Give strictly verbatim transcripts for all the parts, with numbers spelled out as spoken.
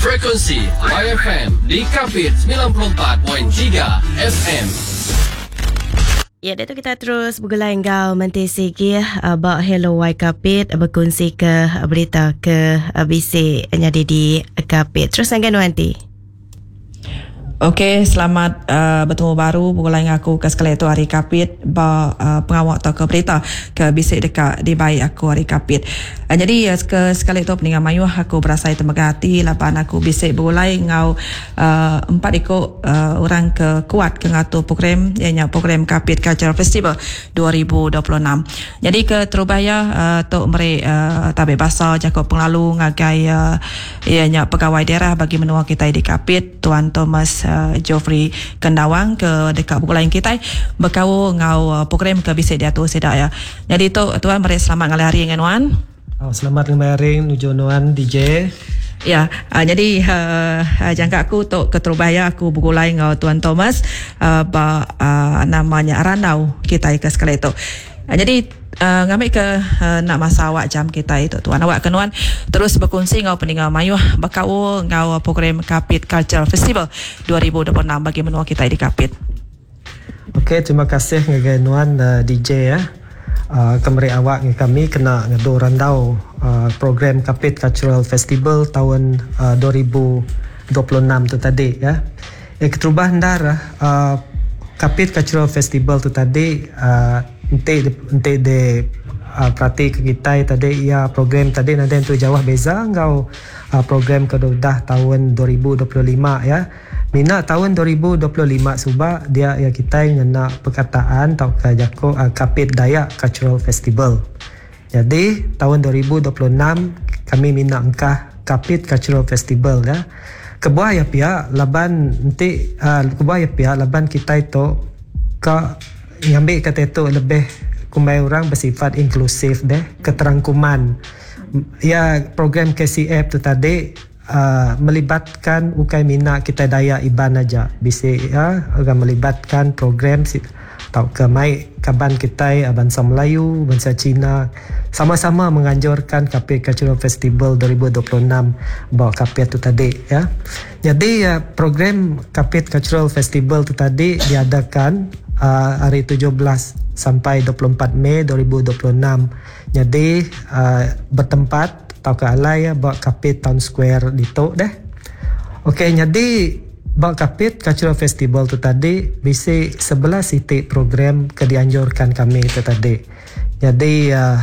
Frekuensi Y F M di Kapit semilan puluh empat perpuluhan tiga F M. Ya, itu kita terus bergulai enggau Menti Sigi uh, ba Hello Y Kapit berkongsi ke berita ke uh, bisi nyadi di Kapit. Terus dengan Nuanti. Okey, selamat uh, bertemu baru begulai dengan aku ke sekali tu hari Kapit ba uh, pengawal atau ke berita ke bisi dekat di baik aku hari Kapit. Uh, jadi uh, ke sekali tu peninggal mayuh aku berasa temegah hati lapan aku bisi begulai ngau uh, empat ikut uh, orang ke kuat ke ngatur program ianya program Kapit Cultural Festival dua ribu dua puluh enam. Jadi ke terubaya uh, tok meri uh, tabi basa Jacob penglalu ngagai uh, ianya pegawai daerah bagi menua kita di Kapit, Tuan Thomas uh, Geoffrey Kendawang ke dekat buku lain kita berkau ngau uh, program ke bisa diatur sedak ya. Jadi tu tuan meri selamat ngalih hari dengan nuan. Oh, selamat ngalih hari nuju nuan D J. Ya, uh, jadi uh, uh, jangka aku tok keterubaya aku bergulai ngau Tuan Thomas uh, ba uh, namanya Randau kita ke sekali itu. Uh, jadi uh, ngambil ke uh, nak masa awak jam kita itu tuan awak kenuan terus berkongsi ngau peninggal mayuh berkau ngau program Kapit Cultural Festival dua ribu dua puluh enam bagi menua kita di Kapit. Okey, terima kasih ngagai nuan uh, D J ya. Uh, kemeri awak dengan kami kena ngadu randau uh, program Kapit Cultural Festival tahun uh, dua ribu dua puluh enam tu tadi ya. Eh, keterubah ndar uh, Kapit Cultural Festival tu tadi uh, ente ente de uh, perhati ke kita tadi ya, program tadi nanti tu jauh beza ngau uh, program ke dah tahun dua ribu dua puluh lima ya. Mina tahun dua ribu dua puluh lima suba dia ya kita ngena perkataan atau ke jako uh, Kapit Dayak Cultural Festival. Jadi tahun dua ribu dua puluh enam kami mina engkah Kapit Cultural Festival ya. Kebuah ya pihak laban nanti uh, kebuah ya pihak laban kita itu ke ngambil kata itu lebih kumbai orang bersifat inklusif deh, keterangkuman ya. Program K C F tu tadi uh, melibatkan ukai mina kita Dayak Iban aja, bisa ya akan melibatkan program si tau ke mai kaban kita eh, bangsa Melayu, bangsa Cina sama-sama menganjurkan Kapit Cultural Festival dua ribu dua puluh enam bawa Kapit tu tadi ya. Jadi ya, program Kapit Cultural Festival tu tadi diadakan uh, hari tujuh belas sampai dua puluh empat Mei dua ribu dua puluh enam. Jadi uh, bertempat tau ke alai ya buat Kapit Town Square di tu deh. Okey, jadi buat Kapit Cultural Festival tu tadi bisi sebelas titik program ke dianjurkan kami itu tadi. Jadi uh,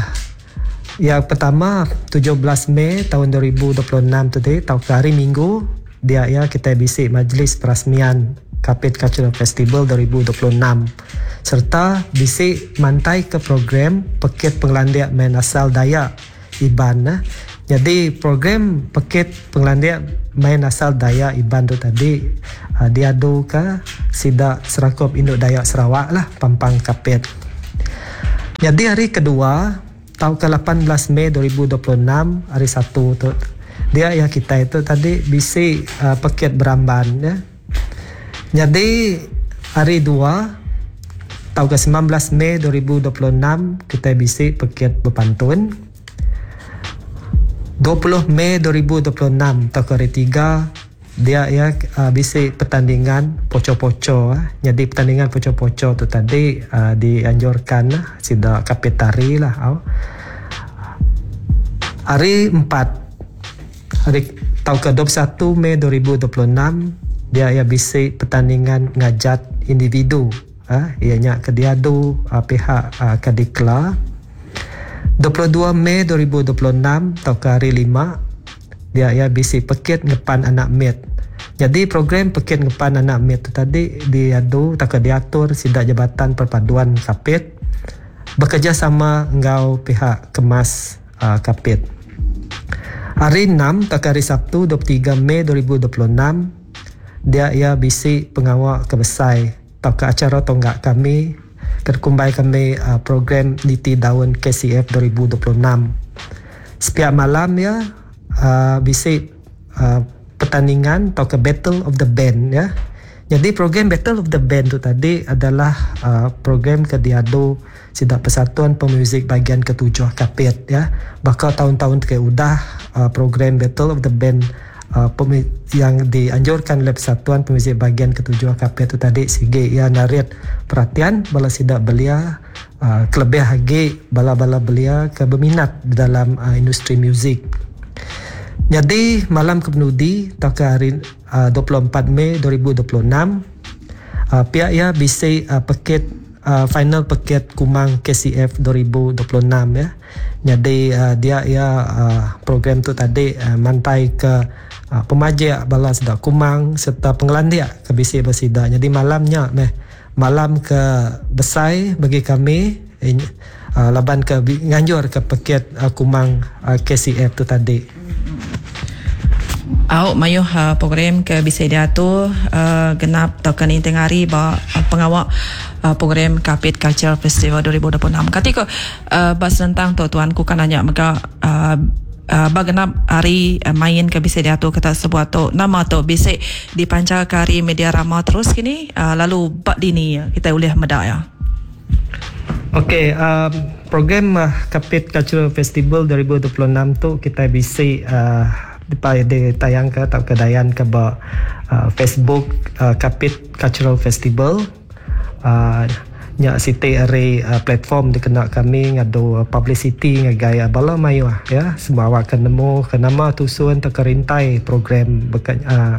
yang pertama tujuh belas Mei tahun dua ribu dua puluh enam tadi tau ke hari Minggu dia ya, kita bisi majlis perasmian Kapit Cultural Festival dua ribu dua puluh enam serta bisi mantai ke program Pekit Pengelandiak Main Asal Dayak Iban eh. Jadi program Pekit Pengelandiak Main Asal Dayak Iban tu tadi uh, diadu ke Sidak Serakup Induk Dayak Sarawak lah Pampang Kapit. Jadi hari kedua tahun ke lapan belas Mei dua ribu dua puluh enam hari Satu tu dia ya, kita itu tadi bisi uh, pekit beramban ya. Jadi hari dua tahun ke sembilan belas Mei dua ribu dua puluh enam kita bisi pekit berpantun. dua puluh Mei dua ribu dua puluh enam tahun ke hari tiga dia ya uh, bisi pertandingan poco-poco uh. Jadi pertandingan poco-poco tu tadi uh, dianjurkan lah sida Kapitari lah uh. Hari empat hari tahun ke dua puluh satu Mei dua ribu dua puluh enam dia ya bisi pertandingan ngajat individu ah uh, ianya ke diadu uh, pihak uh, Kadikla. dua puluh dua Mei dua ribu dua puluh enam atau ke hari lima dia ya bisi pekit ngepan anak mit. Jadi program pekit ngepan anak mit tu tadi diadu tak diatur sidak Jabatan Perpaduan Kapit bekerjasama engkau pihak Kemas uh, Kapit. Hari enam tak hari Sabtu dua puluh tiga Mei dua ribu dua puluh enam dia ia bisi pengawal kebesai atau ke acara tonggak kami terkumbai kami uh, program Niti Daun K C F dua ribu dua puluh enam. Setiap malam ya uh, bisi uh, pertandingan atau ke Battle of the Band ya. Jadi program Battle of the Band tu tadi adalah uh, program ke diadu Sidak Persatuan Pemuzik bahagian ketujuh Kapit ya. Bakal tahun-tahun ke udah uh, program Battle of the Band uh, yang dianjurkan oleh Persatuan Pemuzik Bahagian Ketujuh Kapit tu tadi sigi ia narit perhatian bala sidak belia uh, kelebih lagi bala-bala belia ke berminat dalam uh, industri muzik. Jadi malam kepenudi tauka hari uh, dua puluh empat Mei dua ribu dua puluh enam uh, pihak ia bisi uh, paket uh, final paket Kumang K C F dua ribu dua puluh enam ya. Jadi uh, dia ia uh, program tu tadi uh, mantai ke uh, pemajik bala sedak Kumang serta pengelandia ke bisi bersida. Jadi malamnya meh malam ke besai bagi kami eh, uh, laban ke nganjur ke paket uh, Kumang uh, K C F tu tadi. Au mayuh uh, program ke bisa diatur uh, genap tau kan tengah hari ba uh, pengawak uh, program Kapit Culture Festival dua ribu dua puluh enam. Kati ko uh, bas tentang tu tuan ku kan nanya mega uh, uh, ba genap hari uh, main ke bisa diatur kata sebuah tu nama tu bisa dipancar ke hari media rama terus kini uh, lalu bak dini kita boleh medak ya. Okey, um, program uh, Kapit Cultural Festival dua ribu dua puluh enam tu kita bisa uh, ditayang ke atau kedayan ke ba uh, Facebook uh, Kapit Cultural Festival. Uh, nyak siti ari uh, platform dikena kami ngadu uh, publicity ngagai uh, bala mayuh ya semua awak akan nemu ke nama tusun atau kerintai program bekan, uh,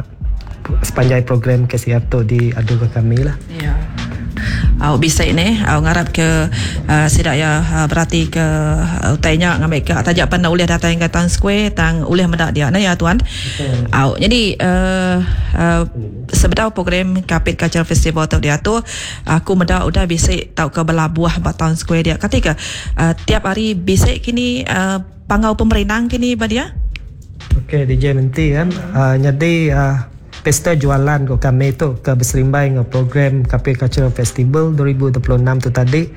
sepanjang program K C F tu diadu ke kami lah. Ya. Au bisa ini au ngarap ke uh, sidak ya uh, berarti ke uh, utainya ngambil ke tajak pandai ulih datang ke Town Square tang ulih medak dia nah ya tuan. Au jadi uh, uh, sebedau program Kapit Cultural Festival tu diatur aku medak udah bisa tau ke belabuh ba Town Square dia ketika uh, tiap hari bisa kini uh, pangau pemerintah kini ba dia. Okey D J nanti kan uh, jadi uh, pesta jualan ko kami tu ke berserimbai dengan program Kapit Cultural Festival dua ribu dua puluh enam tu tadi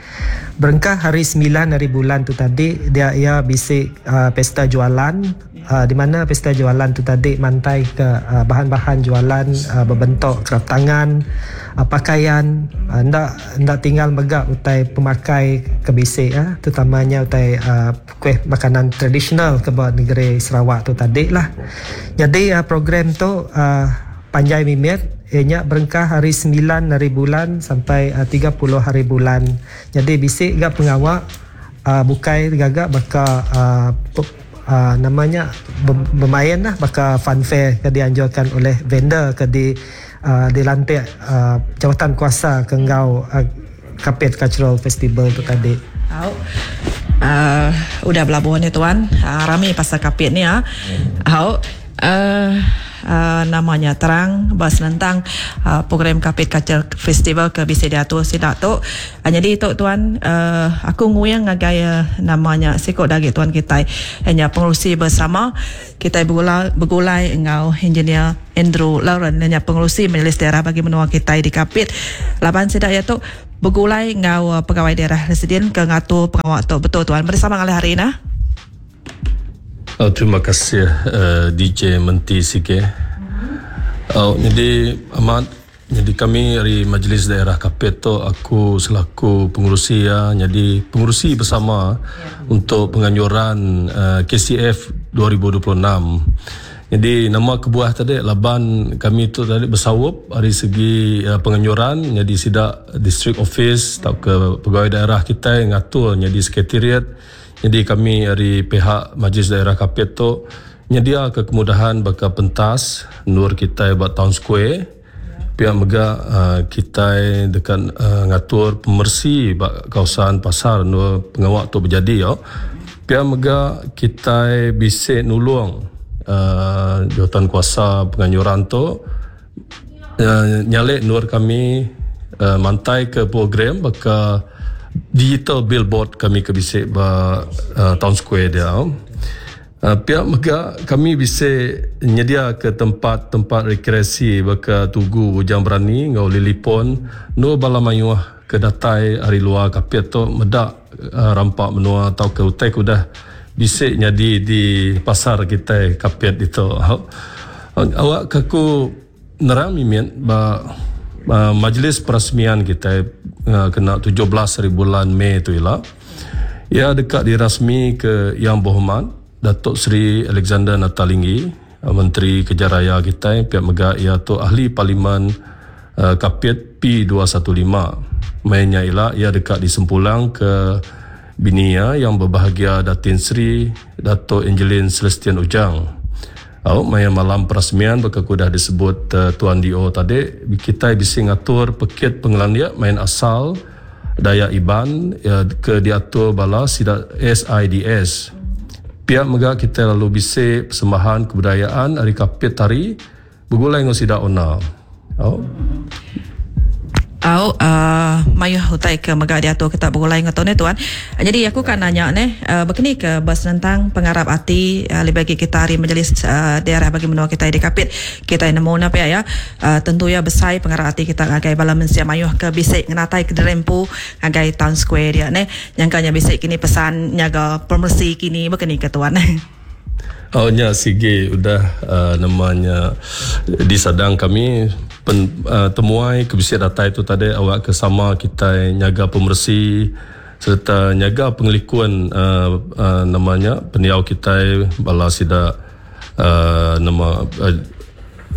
berengkah hari sembilan hari bulan tu tadi dia ia bisik uh, pesta jualan uh, di mana pesta jualan tu tadi mantai ke uh, bahan-bahan jualan uh, berbentuk kerap tangan, uh, pakaian, uh, ndak ndak tinggal megak utai pemakai ke bisik uh, terutamanya utai uh, kuih makanan tradisional ke buat negeri Sarawak tu tadi lah. Jadi uh, program tu uh, panjai mimit ianya berengkah hari sembilan hari bulan sampai uh, tiga puluh hari bulan. Jadi bisik gak pengawak uh, bukai gagak baka uh, uh, namanya bermain lah baka funfair ke dianjurkan oleh vendor ke di uh, dilantik uh, jawatan kuasa ke ngau uh, Kapit Cultural Festival tu tadi. Au. Uh, udah belabuhan ni tuan. Uh, rami pasal Kapit ni ah. Au. Uh, Uh, namanya terang bahas tentang uh, program Kapit Culture Festival ke bisa diatur sidak tu. Uh, jadi tu tuan uh, aku nguyang ngagai uh, namanya sikok dagi tuan kita hanya pengerusi bersama kita bergulai, bergulai engau engineer Andrew Lawrence hanya pengerusi Majlis Daerah bagi menua kita di Kapit. Laban sidak ya tu bergulai engau uh, pegawai daerah residen ke ngatur pengawak tu betul tuan bersama kali hari ini. Oh, terima kasih uh, D J Menti Sike. Oh, jadi amat jadi kami dari Majlis Daerah Kapit tu aku selaku pengurusi ya, jadi pengurusi bersama ya untuk penganjuran uh, K C F dua ribu dua puluh enam. Jadi nama kebuah tadi laban kami tu tadi bersawup dari segi uh, penganjuran jadi sidak district office atau ke pegawai daerah kita yang ngatur jadi sekretariat. Jadi kami dari pihak Majlis Daerah Kapit tu nyedia ke kemudahan baka pentas nur kita buat Town Square. Pihak mega uh, kita dekat uh, ngatur pemersi bak kawasan pasar nur pengawak tu berjadi yo. Pihak mega kita bisa nulung uh, jawatan kuasa penganjuran tu uh, nyalek nur kami uh, mantai ke program baka digital billboard kami ke bisik ba uh, Town Square dia. Uh, pihak mega kami bisa nyedia ke tempat-tempat rekreasi baka Tugu Bujang Berani ngau Lilipon no bala mayuh ke datai hari luar Kapit tu medak uh, rampak menua atau ke utai kudah bisik nyadi di pasar kita Kapit itu. Awak kaku nerang mimit ba Uh, majlis perasmian kita uh, kena tujuh belas hari bulan Mei tu ialah ia dekat dirasmi ke Yang Berhormat Datuk Seri Alexander Nanta Linggi Menteri Kerja Raya kita pihak mega ia tu ahli parlimen uh, Kapit P dua satu lima. Mainnya ialah ia dekat disempulang ke binia yang berbahagia Datin Sri Dato' Angeline Celestian Ujang. Au maya malam perasmian berkekudah disebut uh, Tuan D O tadi kita bisi ngatur pekit pengelandia main asal Dayak Iban ya, ke diatur bala sida S I D S. Pihak mega kita lalu bisi persembahan kebudayaan hari Kapit tari bergulai dengan sida ona. Au. Au uh, mayuh utai ke mega diatur kita bergulai dengan tuan tuan. Jadi aku kan nanya ne uh, berkini ke bas tentang pengarap hati uh, lebih bagi kita hari majlis uh, daerah bagi menua kita di Kapit. Kita nemu napa ya, ya. Uh, tentu ya besai pengarap hati kita ngagai bala mensia mayuh ke bisik ngenatai ke derempu ngagai town square dia ne. Nyangkanya bisik kini pesan nyaga pemersi kini berkini ke tuan. Oh nya sige udah uh, namanya disadang kami pen, uh, temuai ke bisik datai tu tadi awak ke sama kita nyaga pemersi serta nyaga pengelikuan uh, uh, namanya pendiau kita bala sida uh, nama uh,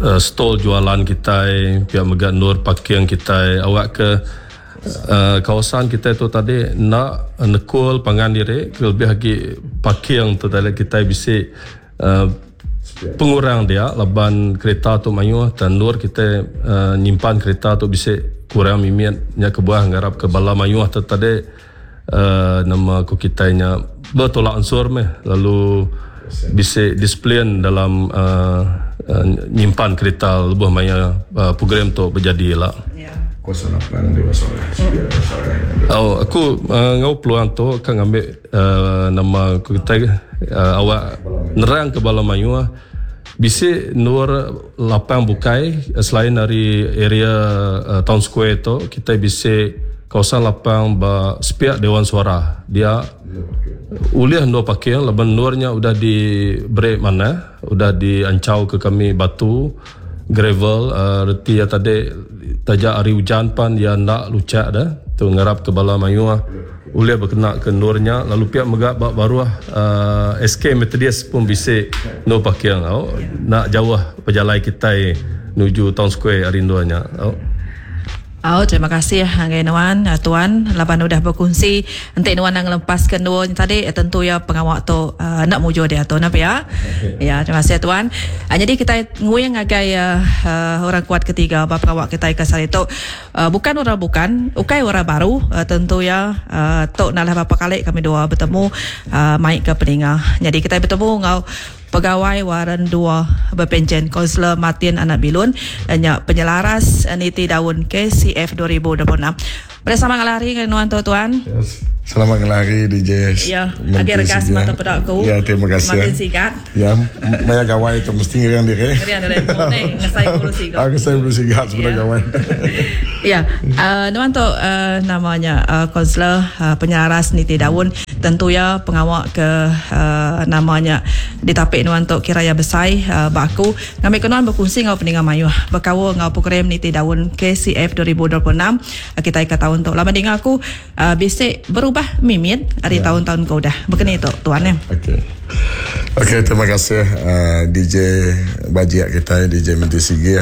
uh, stall jualan kita pihak mega nur parking kita awak ke Uh, kawasan kita tu tadi nak nekul pangan diri lebih lagi parking tu tadi kita bisik uh, pengurang dia laban kereta tu mayuh dan nur kita uh, nyimpan kereta tu bisik kurang mimiat nya kebuah ngarap ke bala mayuh tu tadi uh, nama ku kita nya bertolak ansur meh lalu bisik disiplin dalam uh, uh, nyimpan kereta lebih maya uh, program tu berjadi lah. Yeah. Oh, aku uh, ngau peluang tu kan ambil uh, nama aku kita uh, awak nerang ke bala mayuh bisik nur lapang bukai selain dari area uh, town square tu kita bisik kawasan lapang ba sepiak Dewan Suara dia uliah nur parking laban nurnya udah di break mana udah diancau ke kami batu gravel uh, reti ya tadi tajak hari hujan pan dia nak lucak dah tu ngarap ke bala mayuh uliah berkena ke nurnya lalu pihak mega bak baruah uh, S K Methodist pun bisik no parking oh, nak jauh perjalanan kita menuju town square hari nurnya oh. Oh, terima kasih Anggai Nuan, Tuan, laban udah berkongsi. Entik Nuan nak ngelepas ke Nuan tadi, tentu ya pengawak tu uh, nak mujur dia tu, nampak ya? Ya, terima kasih Tuan. Uh, jadi kita nguyang agai uh, uh, orang kuat ketiga bab pengawak kita ke sari tu. Uh, bukan orang bukan, ukai orang baru, uh, tentu ya uh, tok nalah berapa kali kami dua bertemu uh, maik ke peninga. Jadi kita bertemu ngau Pegawai Waran dua Berpencen Kaunselor Martin Anak Bilun dan penyelaras Niti Daun K C F dua ribu dua puluh enam. Bersama ngelari dengan nuan tuan. Yes. Selamat ngelari D J. Ya, agak regas mata pedak aku. Ya, terima kasih. Martin Sigat. Ya, maya gawai itu mesti ngeriang diri. Ngeriang diri. Neng, ngesai bulu sigat. Aku saya bulu sigat sebenarnya gawai. Ya, uh, nuan tu uh, namanya uh, Kaunselor uh, penyelaras Niti Daun. Tentu ya pengawak ke uh, namanya ditapik nuan tu kiraya besai uh, baku. Ngambil ke nuan berkongsi ngau peningan mayuh. Berkawal ngau program Niti Daun K C F dua ribu dua puluh enam. Uh, kita ikat tahun tu. Lama dengar aku uh, bisik berubah mimit dari ya. Tahun-tahun kau dah. Begini tu tuan ya. Okey. Okey, terima kasih uh, D J Bajiak kita D J Menteri Sigi.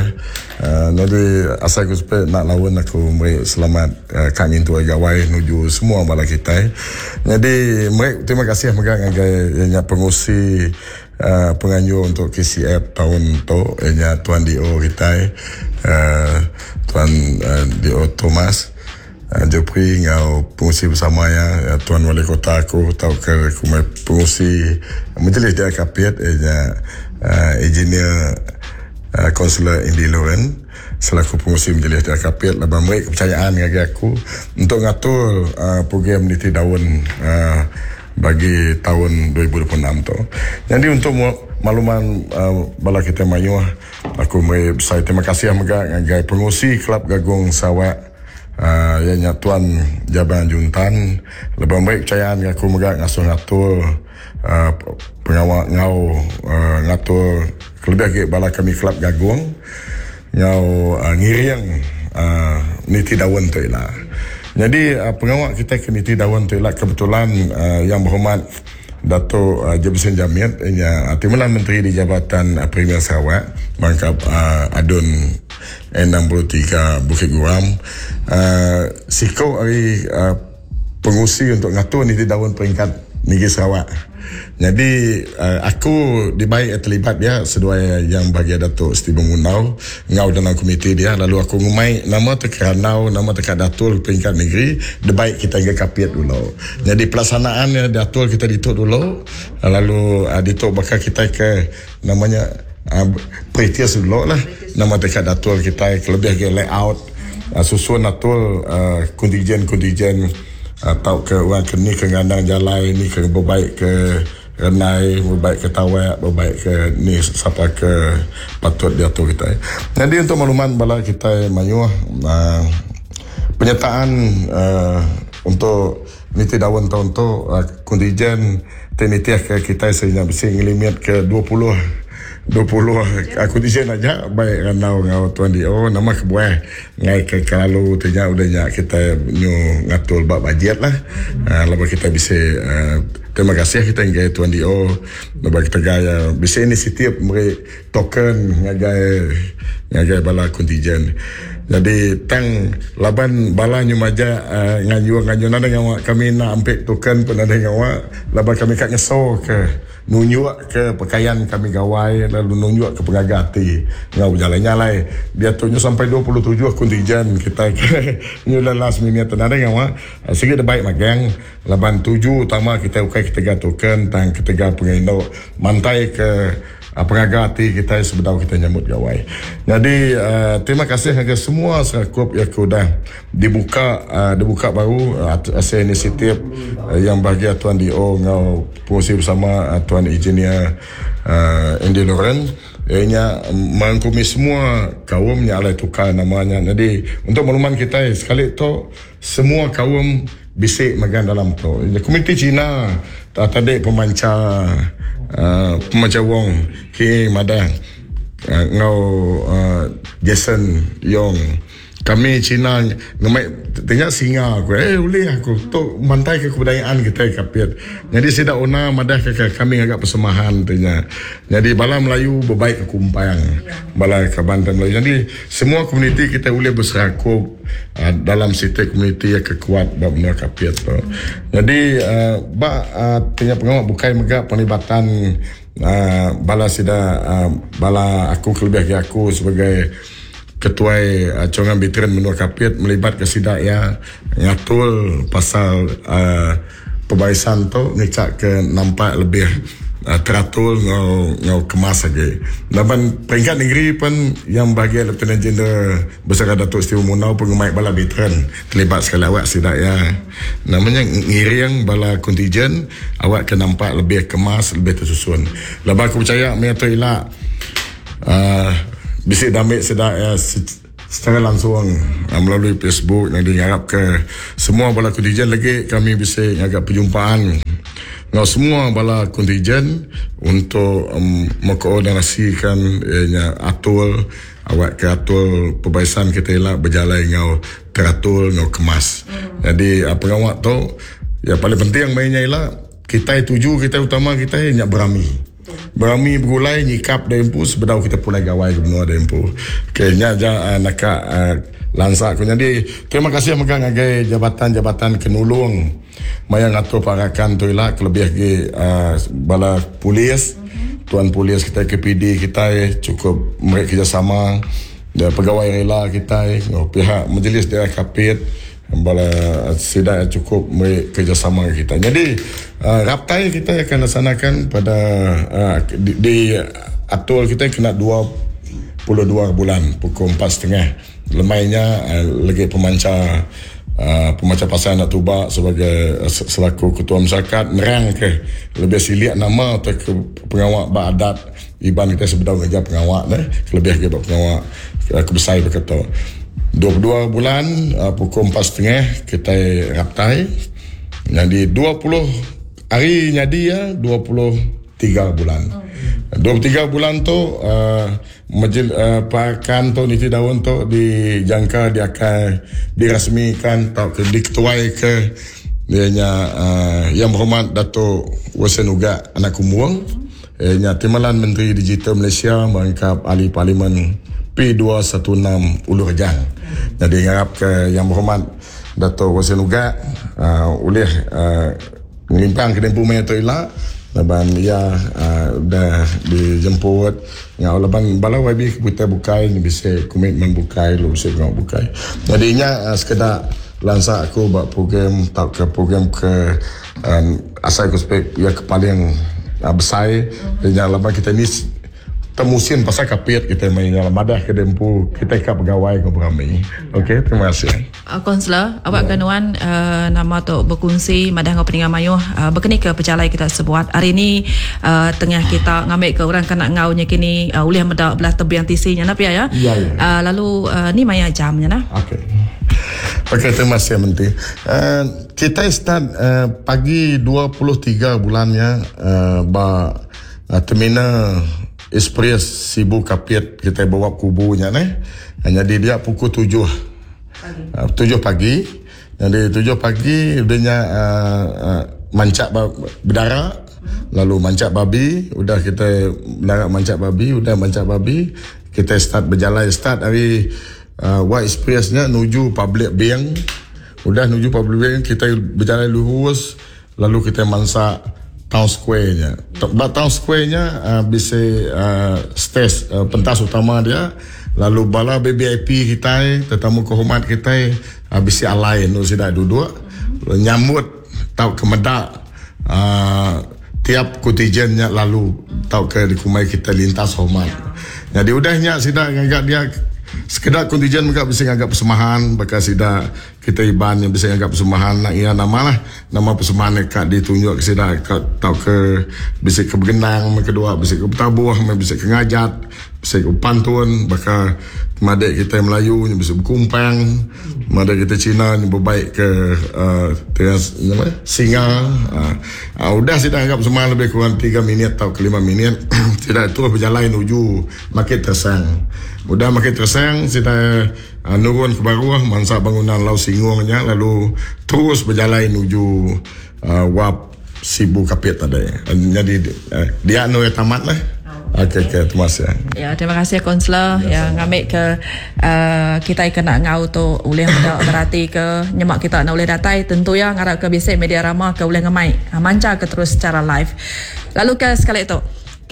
Uh, jadi asal aku supaya nak lawan aku meri selamat uh, kang intu gawai menuju semua bala kita. Jadi meri terima kasih mega ngagai yang pengusi uh, penganjur untuk K C F tahun tu ianya Tuan D O kita uh, Tuan uh, D O Thomas. Uh, Jepri ngau pengusi bersama ya Tuan Wali Kota aku atau ke pengusi majlis dia Kapit ianya uh, engineer uh, Kaunselor Indi Loren selaku pengusi majlis dia Kapit laban meri kepercayaan ngagai aku untuk ngatur uh, program Niti Daun uh, bagi tahun dua ribu dua puluh enam tu. Jadi untuk makluman uh, bala kita mayuh aku meri besar terima kasih mega ngagai pengusi Kelab Gagung Sarawak Uh, ianya Tuan Jabang Juntan lebih baik kepercayaan aku mega ngasuh ngatur uh, pengawak ngau uh, ngatur lebih lagi bala kami Kelab Gagung ngau uh, ngiring uh, Niti Daun tu ialah. Jadi uh, pengawak kita ke Niti Daun tu ialah kebetulan uh, yang berhormat Datuk uh, Jebson Jamit nya uh, Timbalan Menteri di Jabatan uh, Premier Sarawak mangkap uh, Adun enam puluh tiga Bukit Guram uh, siko hari uh, pengusi untuk ngatur ni di daun peringkat Negeri Sarawak. Jadi uh, aku dibaik terlibat dia seduai yang bagi Datuk Stephen Munau ngau dalam komiti dia, lalu aku ngumai nama tekeranau nama dekat Datul peringkat negeri debaik kita ke Kapit dulu. Jadi pelaksanaannya Datul kita dituk dulu, lalu uh, dituk bakal kita ke namanya uh, Pretius dulu lah nama dekat Datul kita lebih ke layout uh, susun Datul uh, kontingen-kontingen atau ke orang ke ni ke ngandang jalai ni ke berbaik ke renai, berbaik ke tawak, berbaik ke ni siapa ke patut diatur kita. Jadi untuk makluman bala kita mayuh uh, penyertaan uh, untuk niti daun tahun tu uh, kontingen tenitiah ke kita sehingga bersih ngelimit ke dua puluh dua puluh aku di sini aja baik ranau ngau tuan dio nama kebuah ngai ke kalau tanya udahnya kita nyu ngatul bab bajet lah. Uh, lepas kita bisa uh, terima kasih kita ngai tuan dio lepas kita gaya bisa inisiatif beri token ngagai ngagai bala kontingen. Jadi tang laban bala nyu maja uh, nganyu nganyu nada ngawa kami nak ambil token pun ada ngawa laban kami kat ngeso ke nunjuk ke pakaian kami gawai lalu nunjuk ke pengaga hati ngau berjalan nyalai dia tu sampai dua puluh tujuh kontingen kita ke nyu last minute nada ngawa segi de baik magang laban tujuh utama kita ukai ketiga token tang ketiga penginduk mantai ke pengaga hati kita sebedau kita nyambut gawai. Jadi uh, terima kasih kepada semua serakup yang sudah dibuka uh, dibuka baru uh, hasil inisiatif uh, yang bahagia Tuan D O ngau pengurusi bersama uh, Tuan Engineer uh, Andy Loren ianya merangkumi semua kaum yang alai tukar namanya. Jadi untuk makluman kita sekali tu semua kaum bisik magan dalam tu. Komuniti Cina tadi pemanca Uh, pemanca Wong Ki Madang uh, ngau uh, Jason Yong kami Cina ngemai tengok singa aku eh boleh aku tu mantai ke kebudayaan kita Kapit. Jadi sidak ona madah ke kami agak persemahan tanya. Jadi bala Melayu berbaik ke Kumpang, bala ke Banten Melayu. Jadi semua komuniti kita boleh berserakup uh, dalam sistem komuniti yang kekuat bab menua Kapit tu. Jadi uh, bak uh, tanya pengawak bukai megak penlibatan uh, bala sida uh, bala aku kelebih ke aku sebagai ketua uh, Congan Veteran Menua Kapit melibat ke sidak ya ngatul pasal uh, pebarisan tu ngecak ke nampak lebih uh, teratur ngau ngau kemas lagi. Laban peringkat negeri pun yang bahagia Lieutenant General Besar Datuk Stephen Munau pengemaik bala veteran terlibat sekali awak sidak ya. Namanya ngiring bala kontingen awak ke nampak lebih kemas lebih tersusun. Laban aku percaya mia tu ilak uh, bisik damit sedak ya secara langsung melalui Facebook. Jadi harap ke semua bala kontingen lagi kami bisa agak perjumpaan dengan semua bala kontingen untuk um, mengkoordinasikan ianya atul awak ke atul perbaisan kita elak berjalan ngau teratur ngau kemas. Hmm. Jadi pengawak tu ya paling penting mainnya elak kita tuju kita utama kita nyak berami. Berami bergulai nyikap dempu sebedau kita pulai gawai ke benua dempu. Okey nya ja uh, nak uh, lansak ku. Jadi terima kasih mega ngagai jabatan-jabatan kenulung maya ngatur parakan tu ila kelebih lagi uh, bala polis, tuan polis kita K P D kita cukup mereka kerjasama dan pegawai rela kita pihak majlis daerah Kapit bala sidak cukup mereka kerjasama kita. Jadi uh, raptai kita akan laksanakan pada uh, di, di atul kita kena dua puluh dua bulan pukul empat setengah. Lemainya uh, lagi pemanca uh, pemanca pasal anak tuba sebagai uh, selaku ketua masyarakat nerang ke lebih siliak nama atau ke pengawak beradat iban kita sebedau kerja pengawak deh lebih ke pengawak uh, kebesai berkata dua puluh dua bulan uh, pukul empat setengah kita raptai. Jadi dua puluh hari jadi ya dua puluh tiga bulan. dua puluh tiga bulan tu uh, majlis uh, pakan tu niti daun tu dijangka dia akan dirasmikan atau ke, diketuai ke Dia nya uh, Yang Berhormat Datuk Wilson Ugak anak Kumbong. Ia nya Timbalan Menteri Digital Malaysia merangkap Ahli Parlimen P dua satu enam Ulu Rejang. Jadi harap ke Yang Berhormat Datuk Wilson Ugak uh, oleh uh, ngelimpang ke dempu maya tu ila laban ia uh, dah dijemput ngau laban bala Y B kita bukai ni bisa komitmen bukai lu bisa ngau bukai. Jadi nya uh, sekedar lansa aku buat program tak ke program ke um, asal aku spek ya ke paling uh, besar mm-hmm. Laban kita ni temusin pasal kapit kita main dalam madah ke dempu kita kat pegawai ke berami. Okey, terima kasih. Uh, Konselor, awak ya. Kenuan uh, nama tu berkongsi madah ngau peningan mayuh uh, berkeni ke pejalai kita sebuat. Hari ni uh, tengah kita ngambil ke orang kena ngaunya kini uh, ulih medak belah tebiang tisinya nak ya ya. Ya, ya. Uh, lalu uh, ni maya jamnya nah. Okey. Okey, terima kasih Menteri. Uh, kita start uh, pagi dua puluh tiga bulannya uh, ba uh, terminal Express Sibu Kapit kita bawa kubunya ni. Jadi dia pukul tujuh pagi. Uh, tujuh pagi. Jadi tujuh pagi udahnya uh, uh, mancak berdarah, lalu mancak babi, udah kita berdarah mancak babi, udah mancak babi, kita start berjalan start dari uh, White Expressnya menuju Public Bank. Udah menuju Public Bank kita berjalan lurus lalu kita masak Town Square-nya. Ba Town Square-nya uh, bisa uh, stage uh, pentas utama dia. Lalu bala B B I P kita, tetamu kehormat kita uh, bisa alai nu sida duduk nyambut tau ke medak uh, tiap kontingennya lalu tau ke di kumai kita lintas hormat. Jadi udahnya sida ngagak dia sekedar kontingen mereka bisa nganggap persembahan bakal sida kita iban yang bisa nganggap persembahan nak ia nama lah nama persembahan dekat ditunjuk ke sida tau ke bisa ke bergenang kedua bisa ke bertabuh bisa ke ngajat bisa ke pantun bakal madek kita Melayu yang bisa berkumpang madek kita Cina yang berbaik ke uh, teras, nama, singa uh, uh, udah sida anggap semua lebih kurang tiga minit atau ke lima minit tidak terus berjalan menuju Market Tersang. Udah Market Tersang sida uh, nurun ke bawah mangsa bangunan Lau Singungnya lalu terus berjalan menuju uh, Wap Sibu Kapit tadi. Jadi uh, dia nu tamat lah. Okey, okey, terima kasih. Ya, terima kasih konselor yang ngambil ke uh, kita kena ngau tu boleh berarti ke nyemak kita nak boleh datai tentu ya ngarap ke bisik media ramah ke boleh ngemai manca ke terus secara live. Lalu ke sekali tu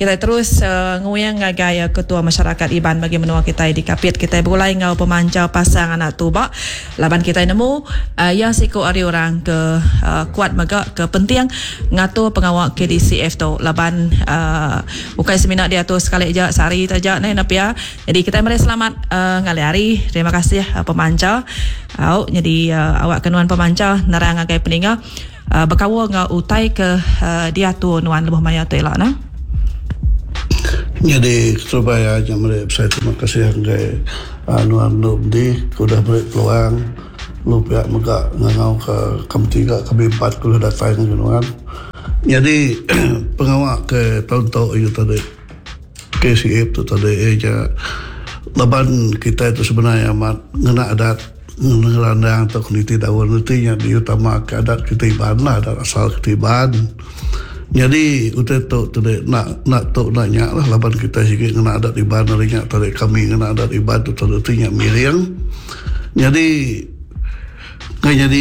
kita terus uh, nguyang ngagai uh, ketua masyarakat Iban bagi menua kita di Kapit kita berulai ngau pemanca pasang anak tubak laban kita nemu uh, ya siko ari orang ke uh, kuat mega ke penting ngatur pengawal K D C F tu laban uh, bukan seminar dia tu sekali je sehari saja ni nak ya. Jadi kita mari selamat uh, ngali hari. Terima kasih uh, pemanca. Au jadi uh, awak kenuan pemanca nerang ngagai peninga uh, berkawal ngau utai ke uh, dia tu nuan lebih maya tu elak nah. Jadi Surabaya aja mereka saya terima kasih ke anuan di sudah beri peluang lu pihak mega ngangau ke kami tiga kami empat kulo datang nuan. Jadi pengawak ke tahun tahun itu tadi K C F tu tadi aja laban kita itu sebenarnya amat ngena adat ngerandang atau kuniti daun itu yang diutama ke adat kita Iban lah adat asal kita Iban. Jadi utai tu tadi nak nak tu nak nyak lah laban kita sikit kena adat Iban dari nyak tadi kami kena adat Iban tu tadi tu nyak miring. Jadi kan jadi